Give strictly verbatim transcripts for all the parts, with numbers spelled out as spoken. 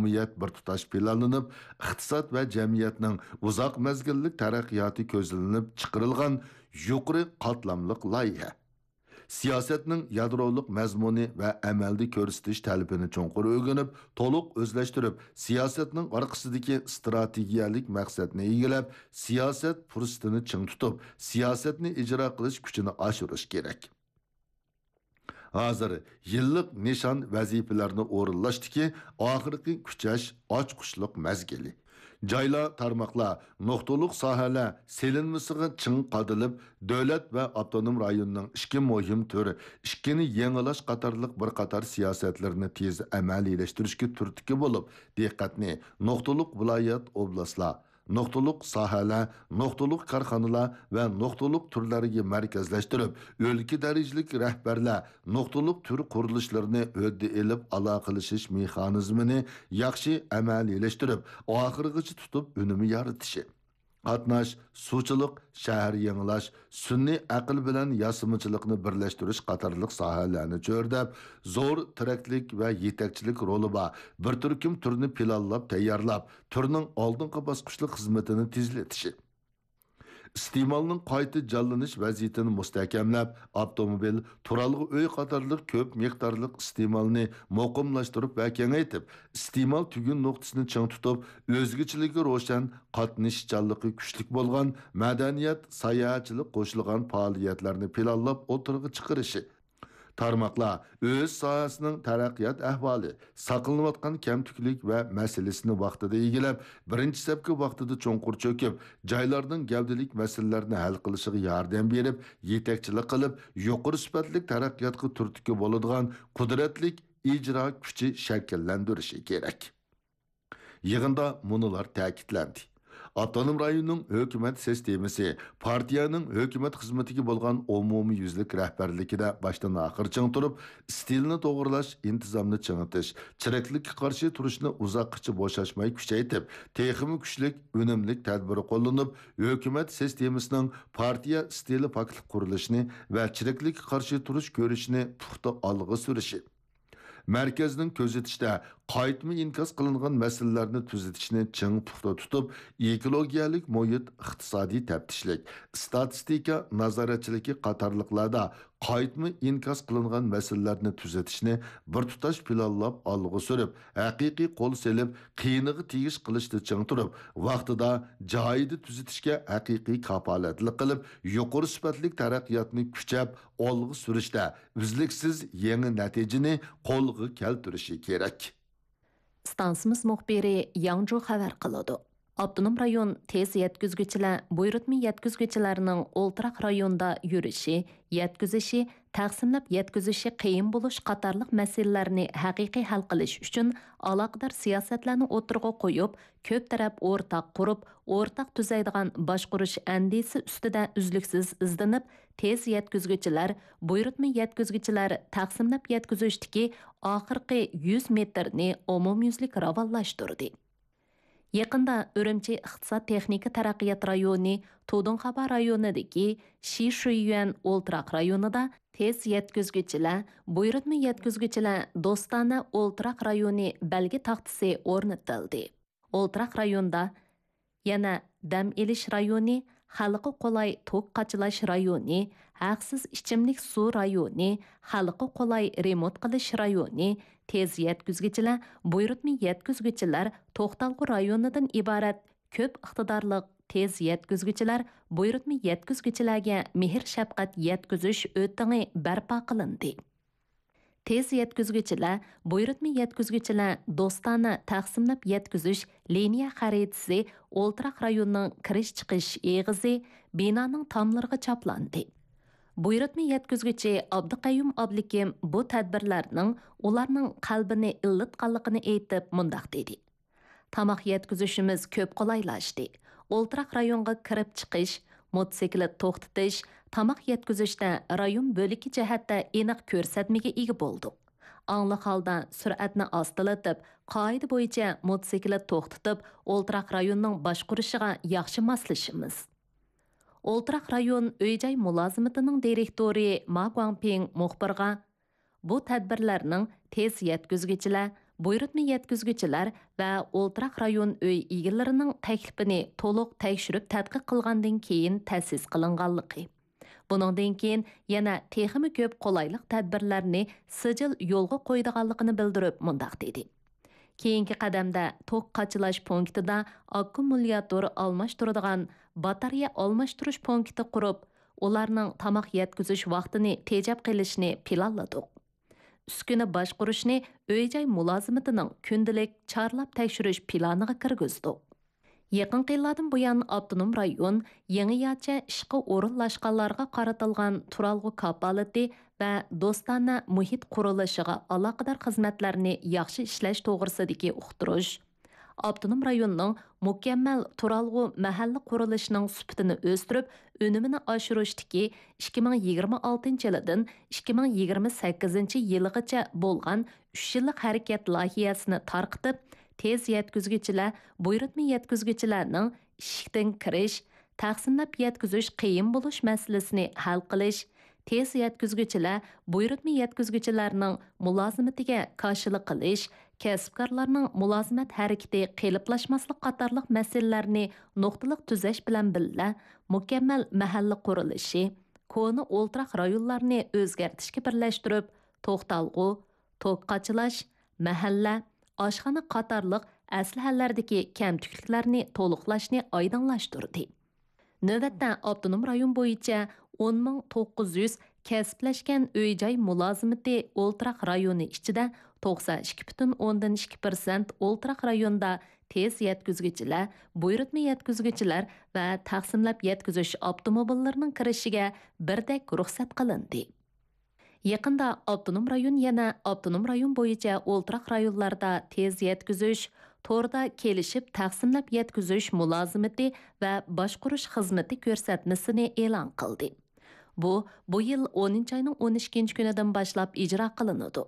ئومۇمىيەت بىر تۇتاش پىلانلىنىپ، ئىقتىساد ۋە جەمئىيەتنىڭ ئۇزاق مەزگىللىك تەرەققىياتى كۆزلىنىپ چىقىرىلغان يۇقىرى قاتلاملىق لايىھە. سىياسەتنىڭ يادرولۇق مەزمۇنى ۋە ئەمەلدە كۆرسىتىش تەلىپىنى چوڭقۇر ئۆگىنىپ، تولۇق ئۆزلەشتۈرۈپ، سىياسەتنىڭ ئارقىسىدىكى ئىستراتېگىيەلىك مەقسەتنى ئىگىلەپ، سىياسەت پۇرسىتىنى چىڭ تۇتۇپ، سىياسەتنى ئىجرا قىلىش كۈچىنى ئاشۇرۇش كېرەك. ھازىر يىللىق نىشان ۋەزىپىلەرنى ئورۇنلاشتىكى ئاخىرقى كۈچەش، ئاچقۇچلۇق مەزگىلى. جايلار، تارماقلار، نۇقتىلىق ساھەلەر سېلىنمىسىغا چىڭ قادىلىپ، دۆلەت ۋە ئاپتونوم رايوننىڭ ئىككى مۇھىم تۈر، ئىككىنى يېڭىلاش قاتارلىق بىر قاتار سىياسەتلىرىنى تېز ئەمەلىيلەشتۈرۈشكە تۈرتكە بولۇپ، دىققەتنى نۇقتىلىق ۋىلايەت، ئوبلاستلار، نۇقتىلىق ساھەلەر، نۇقتىلىق كارخانىلار ۋە نۇقتىلىق تۈرلەرگە مەركەزلەشتۈرۈپ، ئۆلكە دەرىجىلىك رەھبەرلەر نۇقتىلىق تۈر قۇرۇلۇشلىرىنى ھۆددە ئېلىپ، ئالاقىلىشىش مېخانىزمىنى ياخشى ئەمەلىيلەشتۈرۈپ، ئاخىرغىچە تۇتۇپ ئۈنۈم يارىتىشى. قاتناش، سۇچىلىق، شەھەر يېڭىلاش، سۈنئىي ئەقىل بىلەن ياسىمىچىلىقنى بىرلەشتۈرۈش قاتارلىق ساھەلەرنى چۆرىدەپ، زور تىرەكلىك ۋە يېتەكچىلىك رولى بار بىر تۈركۈم تۈرنى پىلانلاپ تەييارلاپ، تۈرنىڭ ئالدىنقى باسقۇچلۇق خىزمىتىنى تېزلىتىشى. ئىستېمالنىڭ قايتا جانلىنىش ۋەزىيىتىنى مۇستەھكەملەپ، ئاپتوموبىل، تۇرالغۇ ئۆي قاتارلىق كۆپ مىقدارلىق ئىستېمالنى مۇقىملاشتۇرۇپ ۋە كېڭەيتىپ، ئىستېمال تۈگۈن نۇقتىسىنى چىڭ تۇتۇپ، ئۆزگىچىلىكى روشەن، قاتنىشىشچانلىقى كۈچلۈك بولغان مەدەنىيەت، ساياھەتچىلىك قوشۇلغان پائالىيەتلەرنى پىلانلاپ ئوتتۇرىغا چىقىرىشى. تارماقلار ئۆز ساھەسىنىڭ تەرەققىيات ئەھۋالى، ساقلىنىۋاتقان كەمتۈكلۈك ۋە مەسىلىسىنى ۋاقتىدا ئىگىلەپ، بىرىنچى سەپكە ۋاقتىدا چوڭقۇر چۆكۈپ، جايلارنىڭ گەۋدىلىك مەسىلىلەرنى ھەل قىلىشىغا ياردەم بېرىپ، يېتەكچىلىك قىلىپ، يۇقىرى سۈپەتلىك تەرەققىياتقا تۈرتكە بولىدىغان قۇدرەتلىك ئىجرا كۈچى شەكىللەندۈرۈشى كېرەك. يىغىندا مۇنۇلار تەكىتلەندى. ئاپتونوم رايوننىڭ ھۆكۈمەت سىستېمىسى پارتىيەنىڭ ھۆكۈمەت خىزمىتىگە بولغان ئومۇميۈزلۈك رەھبەرلىكىدە باشتىن ئاخىر چىڭ تۇرۇپ، ئىستىلنى توغرىلاش، ئىنتىزامنى چىڭىتىش، چىرىكلىككە قارشى تۇرۇشنى ئۇزاققىچە بوشاشماي كۈچەيتىپ، تېخىمۇ كۈچلۈك، ئۈنۈملۈك تەدبىر قوللىنىپ، ھۆكۈمەت سىستېمىسىنىڭ پارتىيە ئىستىلى پاكلىق قۇرۇلۇشىنى ۋە چىرىكلىككە قارشى تۇرۇش كۈرىشىنى پۇختا ئالغا سۈرۈشى. مەركەزنىڭ كۆزىتىشىدە، قايتما ئىنكاس قىلىنغان مەسىلىلەرنى تۈزىتىشنى چىڭ پۇختا تۇتۇپ، ئېكولوگىيەلىك مۇھىت، ئىقتىسادىي تەپتىشلىك، ئىستاتىستىكا نازارەتچىلىكى قاتارلىقلاردا قايتما ئىنكاس قىلىنغان مەسىلىلەرنى تۈزىتىشنى بىر تۇتاش پىلانلاپ ئالغا سۈرۈپ، ھەقىقىي قول سېلىپ، قىيىنىغا تېگىش قىلىشتا چىڭ تۇرۇپ، ۋاقتىدا، جايىدا تۈزىتىشكە ھەقىقىي كاپالەتلىك قىلىپ، يۇقىرى سۈپەتلىك تەرەققىياتنى كۈچەپ ئالغا سۈرۈشتە ئۈزلۈكسىز يېڭى نەتىجىنى قولغا كەلتۈرۈشى كېرەك. ئىستانسىمىز مۇخبىرى ياڭجۇ خەۋەر قىلىدۇ. ئاپتونوم رايون تېز يەتكۈزگۈچىلەر، بۇيرۇتما يەتكۈزگۈچىلەرنىڭ ئولتۇراق رايوندا يۈرۈشى، يەتكۈزۈشى، تەقسىملەپ يەتكۈزۈشى قىيىن بولۇش قاتارلىق مەسىلىلەرنى ھەقىقىي ھەل قىلىش ئۈچۈن ئالاقىدار سىياسەتلەرنى ئوتتۇرىغا قويۇپ، كۆپ تەرەپ ئورتاق قۇرۇپ، ئورتاق تۈزەيدىغان باشقۇرۇش ئەندىزىسى ئۈستىدە ئۈزلۈكسىز ئىزدىنىپ، تېز يەتكۈزگۈچىلەر، بۇيرۇتما يەتكۈزگۈچىلەر تەقسىملەپ يەتكۈزۈشتىكى ئاخىرقى يۈز مېتىرنى ئومۇميۈزلۈك راۋانلاشتۇردى. يېقىندا ئۈرۈمچى ئىقتىساد تېخنىكا تەرەققىيات رايونى تۇدۇڭخابا رايونىدىكى شىشۈيۈەن ئولتۇراق رايونىدا تېز يەتكۈزگۈچىلەر، بۇيرۇتما يەتكۈزگۈچىلەر دوستانە ئولتۇراق رايونى بەلگە تاختىسى ئورنىتىلدى. ئولتۇراق رايوندا يەنە دەم ئېلىش رايونى، خەلققە قولاي توك قاچىلاش رايونى، ھەقسىز ئىچىملىك سۇ رايونى، خەلققە قولاي رېمونت قىلىش رايونى، تېز يەتكۈزگۈچىلەر، بۇيرۇتما يەتكۈزگۈچىلەر توختالغۇ رايونىدىن ئىبارەت كۆپ ئىقتىدارلىق تېز يەتكۈزگۈچىلەر، بۇيرۇتما يەتكۈزگۈچىلەرگە مېھىر-شەپقەت يەتكۈزۈش ئۆتىڭى بەرپا قىلىندى. تېز يەتكۈزگۈچىلەر، بۇيرۇتما يەتكۈزگۈچىلەر دوستانە تەقسىملەپ يەتكۈزۈش لىنىيە خەرىتىسى ئولتۇراق رايوننىڭ كىرىش-چىقىش ئېغىزى، بىنانىڭ تاملىرىغا چاپلاندى. بۇيرۇتما يەتكۈزگۈچى ئابدۇقەييۇم ئابلىكىم بۇ تەدبىرلەرنىڭ ئۇلارنىڭ قەلبىنى ئىللىتقانلىقىنى ئېيتىپ، مۇنداق دېدى: تاماق يەتكۈزۈشىمىز كۆپ قولايلاشتى. ئولتۇراق رايونغا كىرىپ چىقىش، موتوسىكلىت توختىتىش، تاماق يەتكۈزۈشتە رايون بۆلىكى جەھەتتە ئېنىق كۆرسەتمىگە ئىگە بولدۇق. ئاڭلىق ھالدا سۈرئەتنى ئاستىلىتىپ، قائىدە بويىچە موتوسىكلىت توختىتىپ، ئولتۇراق رايوننىڭ باشقۇرۇشىغا ياخشى ماسلىشىمىز. ئولتۇراق رايون ئۆي-جاي مۇلازىمىتىنىڭ دىرېكتورى ما گۇاڭپىڭ مۇخبىرغا، بۇ تەدبىرلەرنىڭ تېز يەتكۈزگۈچىلەر، بۇيرۇتما يەتكۈزگۈچىلەر ۋە ئولتۇراق رايون ئۆي ئىگىلىرىنىڭ تەكلىپىنى تولۇق تەكشۈرۈپ تەتقىق قىلغاندىن كېيىن تەسىس قىلىنغانلىقى، بۇنىڭدىن كېيىن يەنە تېخىمۇ كۆپ قولايلىق تەدبىرلەرنى سىجىل يولغا قويىدىغانلىقىنى بىلدۈرۈپ مۇنداق دېدى: كېيىنكى قەدەمدە توك قاچىلاش پونكىتىدا ئاككۇمۇلياتور ئالماشتۇرىدىغان باتارېيە ئالماشتۇرۇش پونكىتى قۇرۇپ، ئۇلارنىڭ تاماق يەتكۈزۈش ۋاقتىنى تېجەپ قېلىشنى پىلانلىدۇق. ئۈسكۈنە باشقۇرۇشنى ئۆي-جاي مۇلازىمىتىنىڭ كۈندىلىك چارلاپ تەكشۈرۈش پىلانىغا كىرگۈزدۇق. يېقىنقى يىللاردىن بۇيان، ئاپتونوم رايون يېڭىچە ئىشقا ئورۇنلاشقانلارغا قارىتىلغان تۇرالغۇ كاپالىتى ۋە دوستانە مۇھىت قۇرۇلۇشىغا ئالاقىدار خىزمەتلەرنى ياخشى ئىشلەش توغرىسىدىكى ئۇقتۇرۇش، ئاپتونوم رايوننىڭ مۇكەممەل تۇرالغۇ مەھەللە قۇرۇلۇشىنىڭ سۈپىتىنى ئۆستۈرۈپ، ئۈنۈمىنى ئاشۇرۇشتىكى ئىككى مىڭ يىگىرمە ئالتىنچى يىلىدىن ئىككى مىڭ يىگىرمە سەككىزىنچى يىلىغىچە بولغان ئۈچ يىللىق ھەرىكەت لايىھەسىنى تارقىتىپ، تېز يەتكۈزگۈچىلەر، بۇيرۇتما يەتكۈزگۈچىلەرنىڭ ئىشىكتىن كىرىش، تەقسىملەپ يەتكۈزۈش قىيىن بولۇش مەسىلىسىنى ھەل قىلىش، تېز يەتكۈزگۈچىلەر، بۇيرۇتما يەتكۈزگۈچىلەرنىڭ مۇلازىمىتىگە كاشىلىق قىلىش، كەسىپكارلارنىڭ مۇلازىمەت ھەرىكىتى قېلىپلاشماسلىق قاتارلىق مەسىلىلەرنى نۇقتىلىق تۈزەش بىلەن بىللە، مۇكەممەل مەھەللە قۇرۇلۇشى، كونا ئولتۇراق رايونلارنى ئۆزگەرتىشكە بىرلەشتۈرۈپ، توختالغۇ، توك قاچىلاش، مەھەللە، ئاشخانا قاتارلىق ئەسلىھەلەردىكى كەمتۈكلۈكلەرنى تولۇقلاشنى ئايدىڭلاشتۇردى. نۆۋەتتە ئاپتونوم رايون بويىچە ئون مىڭ توققۇز يۈز كەسىپلەشكەن ئۆي-جاي مۇلازىمىتى ئولتۇراق رايونى ئىچىدە توقسان ئىككى پۈتۈن ئوندىن ئىككى پىرسەنت ئولتۇراق رايوندا تېز يەتكۈزگۈچىلەر، بۇيرۇتما يەتكۈزگۈچىلەر ۋە تەقسىملەپ يەتكۈزۈش ئاپتوموبىللىرىنىڭ كىرىشىگە بىردەك رۇخسەت قىلىندى. يېقىندا ئاپتونوم رايون يەنە ئاپتونوم رايون بويىچە ئولتۇراق رايونلاردا تېز يەتكۈزۈش، توردا كېلىشىپ تەقسىملەپ يەتكۈزۈش مۇلازىمىتى ۋە باشقۇرۇش خىزمىتى كۆرسەتمىسىنى ئېلان قىلدى. بۇ، بۇ يىل ئونىنچى ئاينىڭ ئون ئىككىنچى كۈنىدىن باشلاپ ئىجرا قىلىنىدۇ.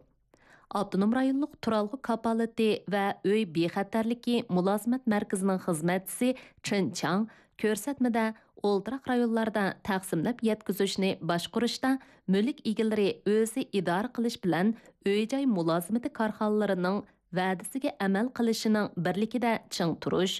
ئاپتونوم رايونلۇق تۇرالغۇ كاپالىتى ۋە ئۆي بىخەتەرلىكى مۇلازىمەت مەركىزىنىڭ خىزمەتچىسى چېن چاڭ كۆرسەتمىدە ئولتۇراق رايونلاردا تەقسىملەپ يەتكۈزۈشنى باشقۇرۇشتا مۈلۈك ئىگىلىرى ئۆزى ئىدارە قىلىش بىلەن ئۆي-جاي مۇلازىمىتى كارخانىلىرىنىڭ ۋەدىسىگە ئەمەل قىلىشىنىڭ بىرلىكىدە چىڭ تۇرۇش،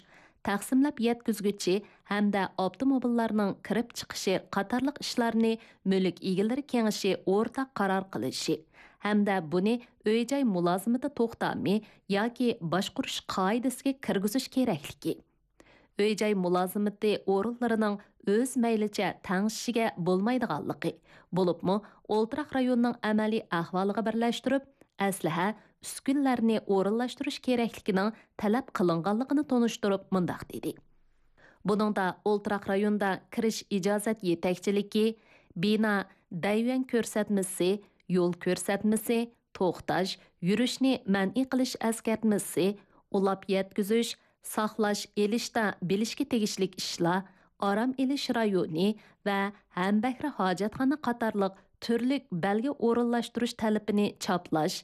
تەقسىملەپ يەتكۈزگۈچى ھەمدە ئاپتوموبىللارنىڭ كىرىپ چىقىشى قاتارلىق ئىشلارنى مۈلۈك ئىگىلىرى كېڭىشى ئورتاق قارار قىلىشى ھەمدە بۇنى ئۆي-جاي مۇلازىمىتى توختامى ياكى باشقۇرۇش قائىدىسىگە كىرگۈزۈش كېرەكلىكى، ئۆي-جاي مۇلازىمىتى ئورۇنلىرىنىڭ ئۆز مەيلىچە تەڭشىشىگە بولمايدىغانلىقى، بولۇپمۇ ئولتۇراق رايوننىڭ ئەمەلىي ئەھۋالىغا بىرلەشتۈرۈپ، ئەسلىھە، ئۈسكۈنىلەرنى ئورۇنلاشتۇرۇش كېرەكلىكىنىڭ تەلەپ قىلىنغانلىقىنى تونۇشتۇرۇپ مۇنداق دېدى: بۇنىڭدا ئولتۇراق رايوندا كىرىش ئىجازەت يېتەكچىلىكى، بىنا، دەيۋەن كۆرسەتمىسى، يول كۆرسەتمىسى، توختاش، يۈرۈشنى مەنئى قىلىش ئەسكەرتمىسى، ئۇلاپ يەتكۈزۈش، ساقلاش، ئېلىشتا بىلىشكە تېگىشلىك ئىشلار، ئارام ئېلىش رايونى ۋە ھەمبەھرە ھاجەتخانا قاتارلىق تۈرلۈك بەلگە ئورۇنلاشتۇرۇش تەلىپىنى چاپلاش،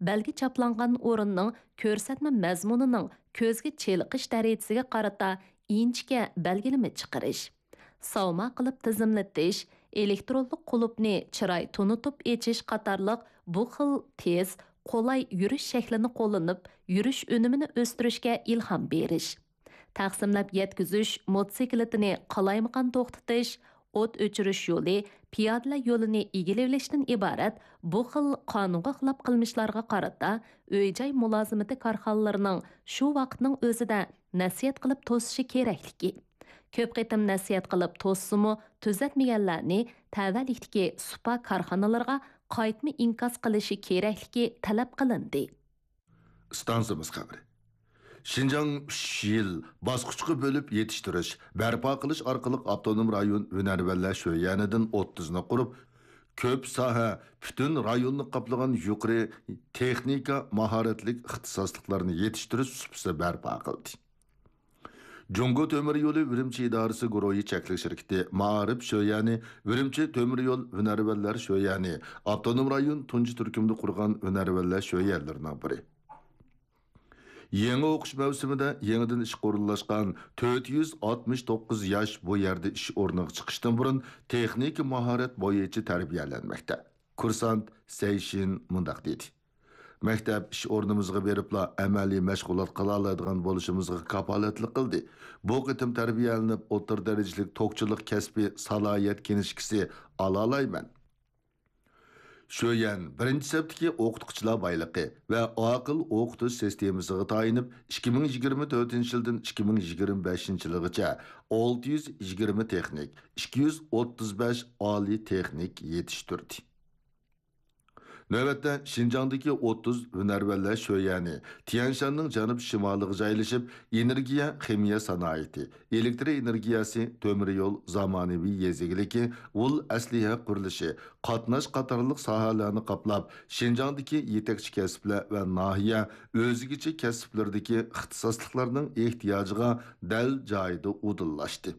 بەلگە چاپلانغان ئورۇننىڭ كۆرسەتمە مەزمۇنىنىڭ كۆزگە چېلىقىش دەرىجىسىگە قارىتا ئىنچىكە بەلگىلىمە چىقىرىش، ساۋما قىلىپ تىزىملىتىش، ئېلېكترونلۇق قۇلۇپنى چىراي تونۇتۇپ ئېچىش قاتارلىق بۇ خىل تېز، قولاي يۈرۈش شەكلىنى قوللىنىپ، يۈرۈش ئۈنۈمىنى ئۆستۈرۈشكە ئىلھام بېرىش. تەقسىملەپ يەتكۈزۈش موتوسىكلىتىنى قالايمىقان توختىتىش، ئوت ئۆچۈرۈش يولى، پىيادىلەر يولىنى ئىگىلىۋېلىشتىن ئىبارەت بۇ خىل قانۇنغا خىلاپ قىلمىشلارغا قارىتا ئۆي-جاي مۇلازىمىتى كارخانىلىرىنىڭ شۇ ۋاقىتنىڭ ئۆزىدە نەسىھەت قىلىپ توسۇشى كېرەكلىكى، كۆپ قېتىم نەسىھەت قىلىپ توسسىمۇ، تۈزەتمىگەنلەرنى تەۋەلىكتىكى سۇپا كارخانىلىرىغا قايتما ئىنكاس قىلىشى كېرەكلىكى تەلەپ قىلىندى. ئىستانسىمىز خەۋىرى. شىنجاڭ ئۈچ يىل باسقۇچقا بۆلۈپ يېتىشتۈرۈش، بەرپا قىلىش ئارقىلىق ئاپتونوم رايون ھۈنەرۋەنلەر شۆيەنىدىن ئوتتۇزنى قۇرۇپ، كۆپ ساھە، پۈتۈن رايوننى قاپلىغان يۇقىرى تېخنىكا ماھارەتلىك ئىختىساسلىقلارنى يېتىشتۈرۈش سۇپىسى بەرپا قىلدى. جۇڭگو تۆمۈر يولى ئۈرۈمچى ئىدارىسى گۇرۇھى چەكلىك شىركىتى مائارىپ شۆيەنى ئۈرۈمچى تۆمۈر يول ھۈنەرۋەنلەر شۆيەنى ئاپتونوم رايون تۇنجى تۈركۈمدە قۇرغان ھۈنەرۋەنلەر شۆيەنلىرىنىڭ بىرى. يېڭى ئوقۇش مەۋسۇمىدا يېڭىدىن ئىشقا ئورۇنلاشقان تۆت يۈز ئاتمىش توققۇز ياش بۇ يەردە ئىش ئورنىغا چىقىشتىن بۇرۇن تېخنىكا ماھارەت بويىچە تەربىيەلەنمەكتە. كۇرسانت سەيشىن مۇنداق دېدى: مەكتەپ ئىش ئورنىمىزغا بېرىپلا ئەمەلىي مەشغۇلات قىلالايدىغان بولۇشىمىزغا كاپالەتلىك قىلدى. بۇ قېتىم تەربىيەلىنىپ، ئوتتۇرا دەرىجىلىك توكچىلىق كەسپىي سالاھىيەت كىنىشكىسى ئالالايمەن. شۆيەن بىرىنچى سەپتىكى ئوقۇتقۇچىلار بايلىقى ۋە ئاقىل ئوقۇتۇش سىستېمىسىغا تايىنىپ، ئىككى مىڭ يىگىرمە تۆتىنچى يىلدىن ئىككى مىڭ يىگىرمە بەشىنچى يىلىغىچە ئالتە يۈز يىگىرمە تېخنىك، ئىككى يۈز ئوتتۇز بەش ئالىي تېخنىك يېتىشتۈردى. نۆۋەتتە شىنجاڭدىكى ئوتتۇز ھۈنەرۋەنلەر شۆيەنى تيەنشاننىڭ جەنۇب شىمالىغا جايلىشىپ، ئېنېرگىيە خىمىيە سانائىتى، ئېلېكتر ئېنېرگىيەسى، تۆمۈر يول، زامانىۋى يېزا ئىگىلىكى، ئۇل ئەسلىھە قۇرۇلۇشى، قاتناش قاتارلىق ساھەلەرنى قاپلاپ، شىنجاڭدىكى يېتەكچى كەسىپلەر ۋە ناھىيە ئۆزگىچە كەسىپلىرىدىكى ئىختىساسلىقلارنىڭ ئېھتىياجىغا دەل جايىدا ئۇدۇللاشتى.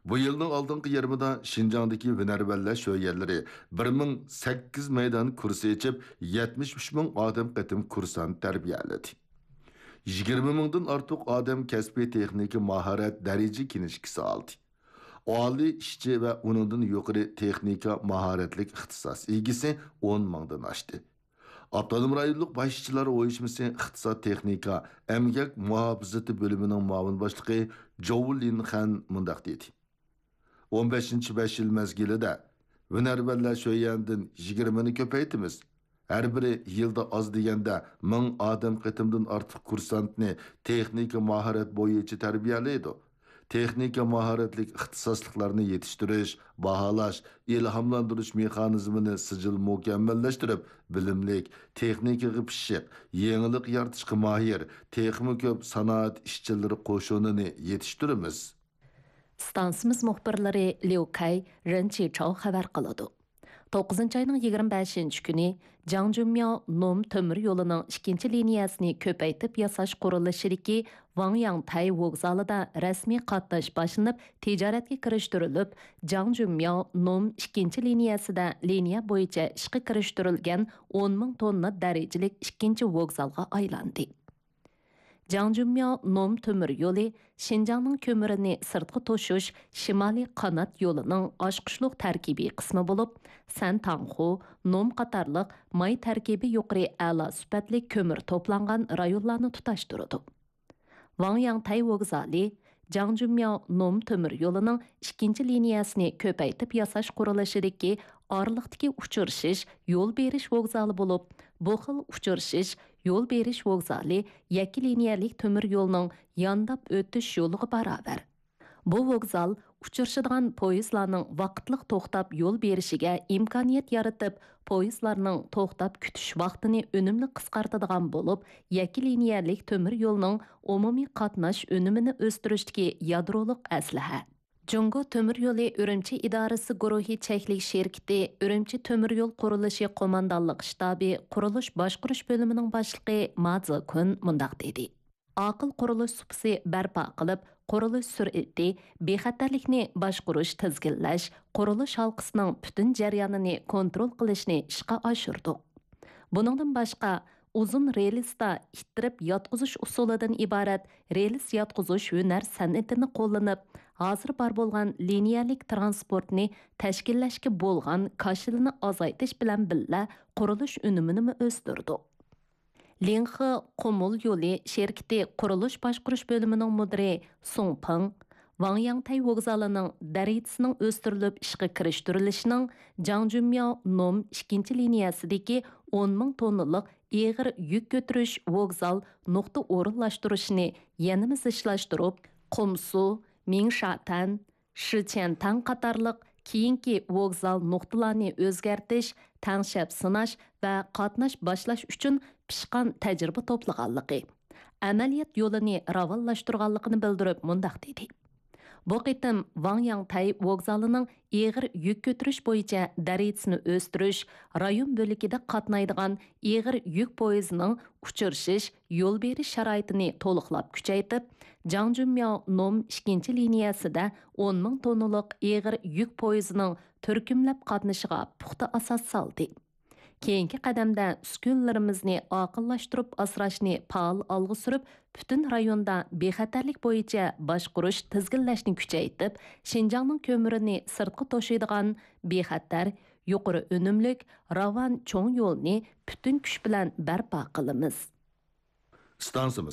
بۇ يىلنىڭ ئالدىنقى يېرىمىدا شىنجاڭدىكى ھۈنەرۋەنلەر شۆيەنلىرى بىر مىڭ سەككىز مەيدان كۇرس ئېچىپ، يەتمىش ئۈچ مىڭ ئادەم قېتىم كۇرسانت تەربىيەلىدى. يىگىرمە مىڭدىن ئارتۇق ئادەم كەسپىي تېخنىكا ماھارەت دەرىجە كىنىشكىسى ئالدى. ئالىي ئىشچى ۋە ئۇنىڭدىن يۇقىرى تېخنىكا ماھارەتلىك ئىختىساس ئىگىسى ئون مىڭدىن ئاشتى. ئاپتونوم رايونلۇق باش ئىشچىلار ئۇيۇشمىسى ئىقتىساد تېخنىكا ئەمگەك مۇھاپىزىتى بۆلۈمىنىڭ مۇئاۋىن باشلىقى جوۋ لىنخەن مۇنداق دېدى: «ئون بەشىنچى بەش يىل مەزگىلىدە ھۈنەرۋەنلەر شۆيەندىن يىگىرمىنى كۆپەيتىمىز. ھەر بىرى يىلدا ئاز دېگەندە مىڭ ئادەم قېتىمدىن ئارتۇق كۇرسانتنى تېخنىكا ماھارەت بويىچە تەربىيەلەيدۇ. تېخنىكا ماھارەتلىك ئىختىساسلىقلارنى يېتىشتۈرۈش، باھالاش، ئىلھاملاندۇرۇش مېخانىزمىنى سىجىل مۇكەممەللەشتۈرۈپ، بىلىملىك، تېخنىكىغا پىششىق، يېڭىلىق يارىتىشقا ماھىر، تېخىمۇ كۆپ سانائەت ئىشچىلىرى قوشۇنىنى يېتىشتۈرىمىز.» ئىستانسىمىز مۇخبىرلىرى ليۇ كەي، رېن چىچاۋ خەۋەر قىلىدۇ. توققۇزىنچى ئاينىڭ يىگىرمە بەشىنچى كۈنى جاڭجۈنمياۋ نوم تۆمۈر يولىنىڭ ئىككىنچى لىنىيەسىنى كۆپەيتىپ ياساش قۇرۇلۇشىدىكى ۋاڭياڭتەي ۋوگزالىدا رەسمىي قاتناش باشلىنىپ، تىجارەتكە كىرىشتۈرۈلۈپ، جاڭجۈنمياۋ نوم ئىككىنچى لىنىيەسىدە لىنىيە بويىچە ئىشقا كىرىشتۈرۈلگەن ئون مىڭ توننا دەرىجىلىك ئىككىنچى ۋوگزالغا ئايلاندى. جاڭجۈنمياۋ نوم تۆمۈر يولى شىنجاڭنىڭ كۆمۈرىنى سىرتقا توشۇش شىمالىي قانات يولىنىڭ ئاچقۇچلۇق تەركىبىي قىسمى بولۇپ، سەنتاڭخۇ، نوم قاتارلىق ماي تەركىبى يۇقىرى ئەلا سۈپەتلىك كۆمۈر توپلانغان رايونلارنى تۇتاشتۇرىدۇ. ۋاڭياڭتەي ۋوگزالى جاڭجۈنمياۋ نوم تۆمۈر يولىنىڭ ئىككىنچى لىنىيەسىنى كۆپەيتىپ ياساش قۇرۇلۇشىدىكى ئارىلىقتىكى ئۇچرىشىش يول بېرىش ۋوگزالى بولۇپ، بۇ خىل ئۇچرىشىش يول بېرىش ۋوگزالى يەككە لىنىيەلىك تۆمۈر يولىنىڭ يانداپ ئۆتۈش يولىغا باراۋەر. بۇ ۋوگزال ئۇچرىشىدىغان پويىزلارنىڭ ۋاقىتلىق توختاپ يول بېرىشىگە ئىمكانىيەت يارىتىپ، پويىزلارنىڭ توختاپ كۈتۈش ۋاقتىنى ئۈنۈملۈك قىسقارتىدىغان بولۇپ، يەككە لىنىيەلىك تۆمۈر يولنىڭ ئومۇمىي قاتناش ئۈنۈمىنى ئۆستۈرۈشتىكى يادرولۇق ئەسلىھە. جۇڭگو تۆمۈر يولى ئۈرۈمچى ئىدارىسى گۇرۇھى چەكلىك شىركىتى ئۈرۈمچى تۆمۈر يول قۇرۇلۇشى قوماندانلىق شتابى قۇرۇلۇش باشقۇرۇش بۆلۈمىنىڭ باشلىقى ما زېكۈن مۇنداق دېدى: «ئاقىل قۇرۇلۇش سۇپىسى بەرپا قىلىپ، قۇرۇلۇش سۈرئىتى، بىخەتەرلىكنى باشقۇرۇش، تىزگىنلەش، قۇرۇلۇش ھالقىسىنىڭ پۈتۈن جەريانىنى كونترول قىلىشنى ئىشقا ئاشۇردۇق.» بۇنىڭدىن باشقا، ئۇزۇن رېلىستا ئىتتىرىپ ياتقۇزۇش ئۇسۇلىدىن ئىبارەت رېلىس ياتقۇزۇش ھۈنەر سەنئىتىنى قوللىنىپ، ھازىر بار بولغان لىنىيەلىك تىرانسپورتنى تەشكىللەشكە بولغان كاشىلىنى ئازايتىش بىلەن بىللە، قۇرۇلۇش ئۈنۈمىنىمۇ ئۆستۈردۇق. لىڭخې قۇمۇل يولى شىركىتى قۇرۇلۇش باشقۇرۇش بۆلۈمىنىڭ مۇدىرى سۇڭ پېڭ ۋاڭياڭتەي ۋوگزالىنىڭ دەرىجىسىنىڭ ئۆستۈرۈلۈپ ئىشقا كىرىشتۈرۈلۈشىنىڭ جاڭجۈنمياۋ نوم ئىككىنچى لىنىيەسىدىكى ئون مىڭ توننىلىق ئېغىر يۈك كۆتۈرۈش ۋوگزال نۇقتا ئورۇنلاشتۇرۇشىنى يەنىمۇ زىچلاشتۇرۇپ، قۇمسۇ، مىڭشاتەن، شىچيەنتاڭ قاتارلىق كېيىنكى ۋوگزال نۇقتىلارنى ئۆزگەرتىش، تەڭشەپ سىناش ۋە قاتناش باشلاش ئۈچۈن پىشقان تەجرىبە توپلىغانلىقى، ئەمەلىيەت يولىنى راۋانلاشتۇرغانلىقىنى بىلدۈرۈپ مۇنداق دېدى: «بۇ قېتىم ۋاڭياڭتەي ۋوگزالىنىڭ ئېغىر يۈك كۆتۈرۈش بويىچە دەرىجىسىنى ئۆستۈرۈش، رايون بۆلىكىدە قاتنايدىغان ئېغىر يۈك پويىزىنىڭ ئۇچرىشىش، يول بېرىش شارائىتىنى تولۇقلاپ كۈچەيتىپ، جاڭجۈنمياۋ نوم ئىككىنچى لىنىيەسىدە ئون مىڭ توننىلىق ئېغىر يۈك پويىزىنىڭ تۈركۈملەپ قاتنىشىغا پۇختا ئاساس سالدى. كېيىنكى قەدەمدە ئۈسكۈنىلىرىمىزنى ئاقىللاشتۇرۇپ ئاسراشنى پائال ئالغا سۈرۈپ، پۈتۈن رايوندا بىخەتەرلىك بويىچە باشقۇرۇش، تىزگىنلەشنى كۈچەيتىپ، شىنجاڭنىڭ كۆمۈرىنى سىرتقا توشۇيدىغان بىخەتەر، يۇقىرى ئۈنۈملۈك، راۋان چوڭ يولنى پۈتۈن كۈچ بىلەن بەرپا قىلىمىز. ئىستانسىمىز